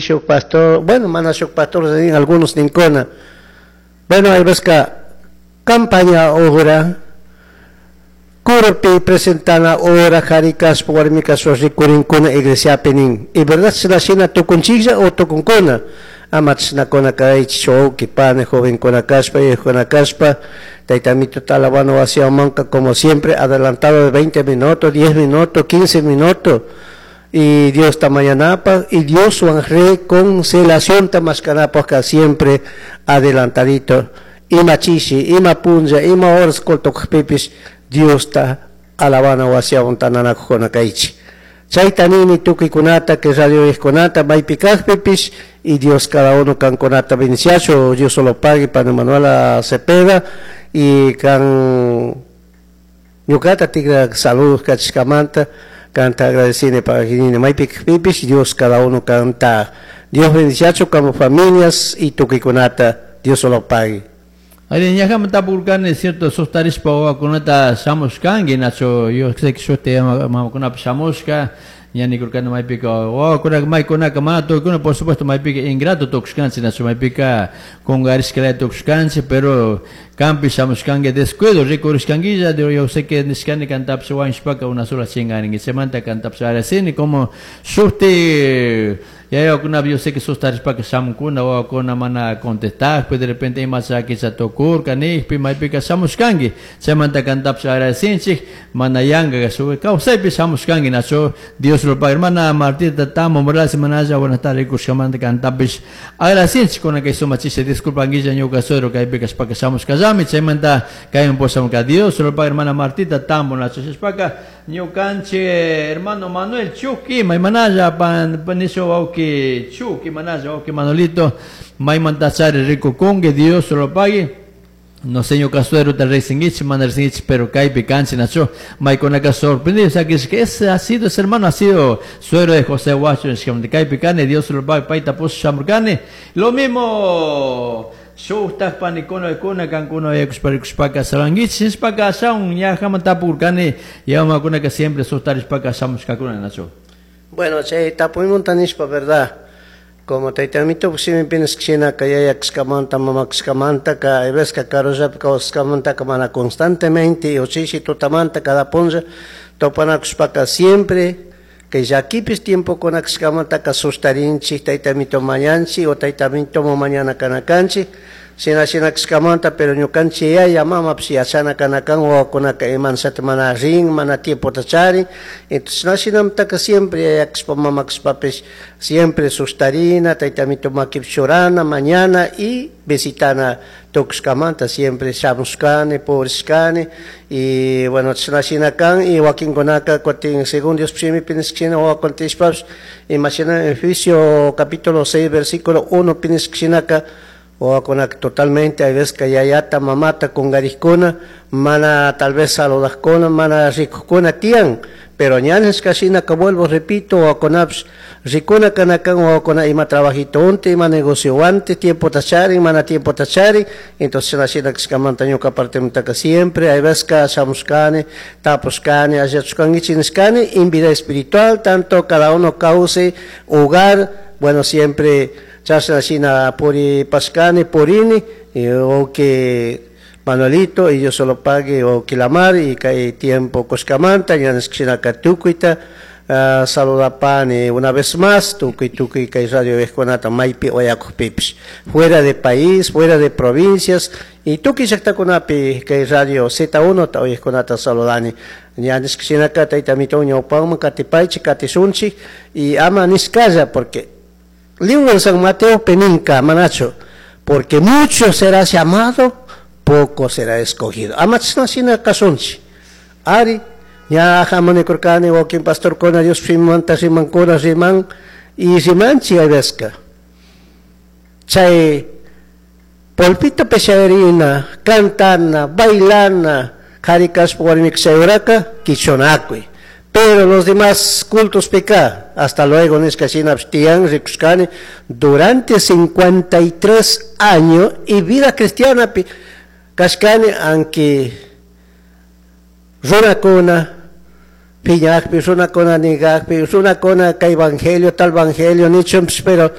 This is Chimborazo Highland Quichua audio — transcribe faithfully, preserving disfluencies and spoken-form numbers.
shuk pastor, bueno, mana shuk pastor nin, algunos ninkuna. Bueno, hay veces campaña hora, curapi presentana hora, kari kashpa, warmi kashpa rikurinkuna iglesiapi nin. Y verdad chashna shina tukunchiklla o tukunkuna. Ama chashnakuna kaychik wawki pani jovenkuna kashpa, viejokuna kashpa, tayta Amito alabana wasimanka como siempre adelantado de veinte minutos, diez minutos, quince minutos. Y Dios ta mañanapaj y Dioswan reconciliación ta mashkanapaj siempre adelantadito. Ima chishi, ima punlla, ima horas culto kajpipish Dios ta alabana wasiwan tandanakujkuna kaychik. Chayta nini tukuykunata que radio kunata maypi kajpipish y Dios cada uno kankunata bendiciacho, Dios solo pague para Manuela Cepeda y kan ñukata tigra saludos kachishkamanta kanta agradecine para maypi kajpipish Dios cada uno canta Dios bendiciacho como familias y tukuykunata Dios solo pague. Ari ñajaman tapurkani, cierto, sustarishpa wawakunata shamushkanki, nacho, yo sé que shuti mamakunapish shamushka, ña nikurkani maypika wawakunaka maykunaka mana tukuykuna, por supuesto, maypika ingrato tukushkanchik, nacho, maypika kungarishkalaya tukushkanchik, pero kanpish shamushkanki descuido rikurishkankilla, yo sé que nishkani kantapish wañushpaka una sola chingarinki, chaymanta kantapish agradecini como shuti yayakunapi yo sé que sustarishpaka shamunkuna wawakuna mana contestakpi de repente ima chakicha tukurka nijpi maypika shamushkanki, chaymanta kantapish agradecinchik mana yanka kawsaypi shamushkanki, nacho, Dios lo pague. Hermana Martita Tamo Morales, manalla buenas tardes rikushkamanta kantapish agradecinchik kuna kay sumak chishi, disculpanguilla ñuka suegro kaypi kashpaka shamushkallami, chaymanta kayman pushamunka. Dios lo pague, hermana Martita Tambo, nacho. Shishpaka ñukanchik hermano Manuel Chuki maymanalla pan nisho wawki Chuki manalla wawki Manolito maymantachari rikukunki, Dios lo pague. No sé, ñuka suegro ta riqsinkichik mana riqsinkichik, pero kaypi kanchik, nacho, maykunaka sorprendido, o sea, que ese ha sido, ese hermano ha sido suegro de José Huacho, kaypi kani, Dios lo pague, payta push shamurkani. Lo mismo shuktak panikuna kuna kankuna yakushpa rikushpaka salankichik nishpaka ashawan ñajaman tapurkani yamakunaka siempre sustarishpaka shamushkakuna, nacho. Bueno, chay tapuymunta nishpa, verdad, como tayta Amito shimipi nishkashinaka yaya kashkamanta mama kashkamanta ka hay veces ka karullapi kawsashkamantaka mana constantemente o chishi tutamanta cada punlla topanakushpaka siempre kay llakipish tiempokuna kashkamantaka sustarinchik tayta Amito mañanchik o tayta Amito mañana kana kanchik shina shina kashkamanta, pero ñukanchik yaya mamapish yachana kana kan wawakunaka imanshata mana rin mana tiempota charin. Entonces shina shinamantaka siempre yaya kashpa mama kashpapish siempre sustarina tayta Amito makipi churana mañana y visitana tukushkamanta siempre shamushkani purishkani y bueno, chashna shina kan. Y wakinkunaka kutin según Dios shimipi nishkashina wawakuna tiyashpapish imashina Efesios capítulo seis versículo uno pi nishkashinaka wawakunaka totalmente hay veces que yayata mamata kungarikuna mana tal vez saludajkuna mana rikukuna tiyan, pero ña nishkashinaka vuelvo repito wawakunapish rikuna kana kan wawakuna ima trabajito unti ima negocio wanti tiempota charin mana tiempota charin. Entonces shina shina kashkamanta ñuka partemantaka siempre hay veces que shamushkani tapushkani alliachushkankichik nishkani en vida espiritual tanto cada uno cause hogar, bueno, siempre chashna shina puripashkani purini y o que Manuelito y Dios solo pague o que la mar y kay tiempo kushkamanta ña nishkashinaka tukuyta uh, saludapani una vez más tukuy tukuy kay radio uyajkunata maypi uyakukpipish fuera de país, fuera de provincias y tukuy llaktakunapi kay radio Z uno ta uyajkunata saludani. Ña nishkashinaka tayta Amito ñawpaman katipaychik katishunchik y ama nishkalla porque libro de San Mateo peninka manacho porque mucho será llamado, poco será escogido. Ama chashna shina kashunchik ari ña hamanikurkani wakin pastorkuna Dios shimimanta rimankuna riman y rimanchik hay veces chay pulpitopi shayarina cantana bailana kari kashpa warmi chay horaka kichunakuy, pero los demás cultos pika hasta luego nishka shinapish tiyan rikushkani durante cincuenta y tres años y vida cristianapi kashkani aunque runakuna piñakpi runakuna nigakpi runakuna kay evangelio tal evangelio nichunpish pero